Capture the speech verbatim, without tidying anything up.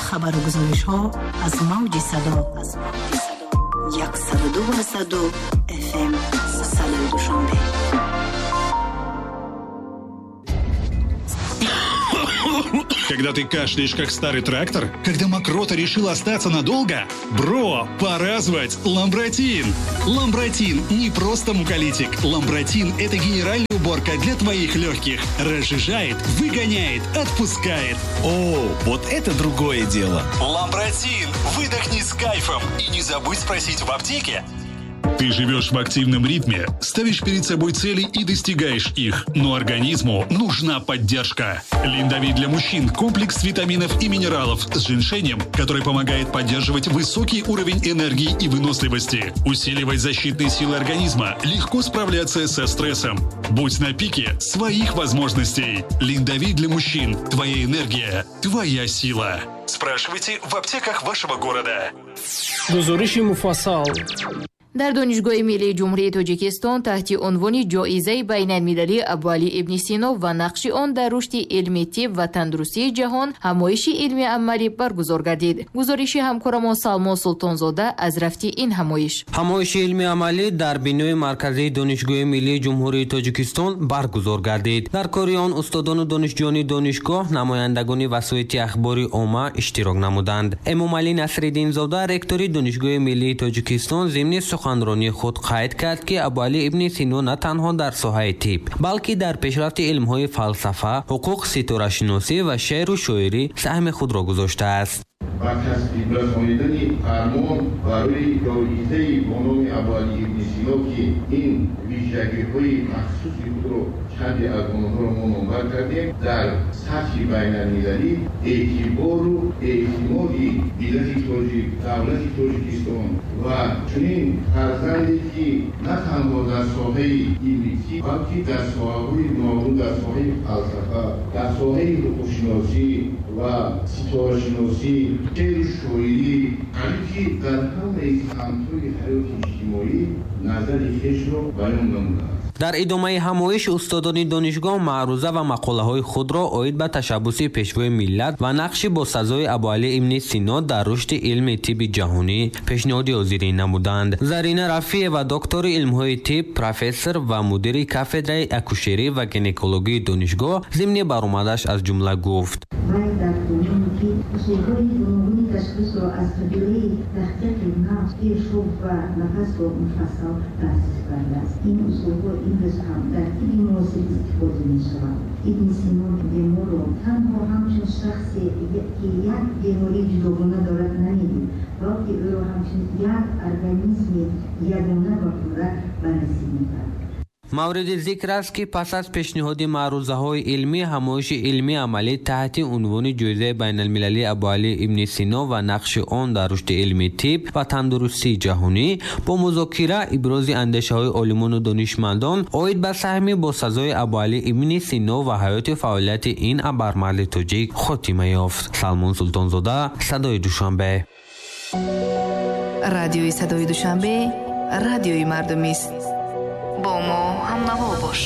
Хабару гузоришҳо аз мавҷи садо яксаду ду ду F M садои Душанбе. Когда ты кашляешь, как старый трактор? Когда мокрота решила остаться надолго? Бро, пора звать Ламбратин! Ламбратин не просто муколитик. Ламбратин – это генеральная уборка для твоих легких. Разжижает, выгоняет, отпускает. О, вот это другое дело! Ламбратин! Выдохни с кайфом и не забудь спросить в аптеке. Ты живешь в активном ритме, ставишь перед собой цели и достигаешь их. Но организму нужна поддержка. Линдовит для мужчин – комплекс витаминов и минералов с женьшенем, который помогает поддерживать высокий уровень энергии и выносливости, усиливать защитные силы организма, легко справляться со стрессом. Будь на пике своих возможностей. Линдовит для мужчин – твоя энергия, твоя сила. Спрашивайте в аптеках вашего города. Гузориши муфассал. Дар Донишгоҳи миллии Ҷумҳурии Тоҷикистон таҳти унвони ҷоизаи байналмилалии Абуалӣ ибни Сино ва нақши он дар рушди илми тиб ва тандурустии ҷаҳон ҳамоиши илми амалӣ баргузор гардид. Гузориши ҳамкорамон Салмон Султонзода аз рафти ин ҳамоиш. Ҳамоиши илми амалӣ дар бинои марказии Донишгоҳи миллии Ҷумҳурии Тоҷикистон баргузор гардид. Дар кори он устодону донишҷӯёни донишгоҳ, намояндагони васоити ахбори омма иштирок намуданд. Эмомалӣ Насриддинзода, ректори Донишгоҳи миллии Тоҷикистон, зимни суханронии худ қайд кард, ки Абуалӣ ибни Сино на танҳо дар соҳаи тиб, балки дар пешрафти илмҳои фалсафа, ҳуқуқ, ситорашиносӣ ва шеъру шоирӣ саҳми худро гузоштааст. Ба тасвиб расонидани фармон барои ҷоизаи бо номи Абуалӣ ибни Сино, ки ин вижагиҳои махсуси худро чанде аз онҳоро мо номбар кардем, дар сатҳи байналмилалӣ эътибору эътимоди миллати тоҷик, давлати Тоҷикистон ва чунин фарзанде, ки на танҳо дар соҳаи илми тиб, балки дар соҳаҳои гуногун, дар соҳаи фалсафа, дар соҳаи ҳуқуқшиносӣ ва ситорашиносӣ, шеъру шоирӣ, қариб ки дар ҳамаи самтҳои ҳаёти иҷтимоӣ назари хешро баён намудааст. Дар идомаи ҳамоиш устодони донишгоҳ маъруза ва мақолаҳои худро оид ба ташаббуси пешвои миллат ва нақши босазои Абуалӣ ибни Сино дар рушди илми тибби ҷаҳонӣ пешниҳоди ҳозирин намуданд. Зарина Рафиева, доктори илмҳои тиб, профессор ва мудири кафедраи акушерӣ ва гинекологии донишгоҳ, зимни баромадаш аз ҷумла гуфт: усулҳои гуногуни ташхисро аз қабилаи таҳқиқи нафс, пешоб ва нафасро муфассал таъсис кардааст. Ин усулҳо имрӯз ҳам дар тибби муосир истифода мешаванд. Ибни Сино беморро танҳо ҳамчун шахсе, ки як бемории ҷудогона дорад, намедид, балки ӯро ҳамчун як организми ягона ва пурра баррасӣ мекард. Мавриди зикр аст, ки пас аз пешниҳоди маърузаҳои илмӣ, ҳамоиши илмии амалӣ таҳти унвони ҷоизаи байналмилалии Абуалӣ ибни Сино ва нақши он дар рушди илми тиб ва тандурустии ҷаҳонӣ бо музокира, ибрози андешаҳои олимону донишмандон оид ба саҳми босазои Абуалӣ ибни Сино ва ҳаёти фаъолияти ин абармарди тоҷик хотима ёфт. Салмон Султонзода, Садои Душанбе. Радиои Садои Душанбе, радиои мардумист. Бо мо ҳамнаво бош.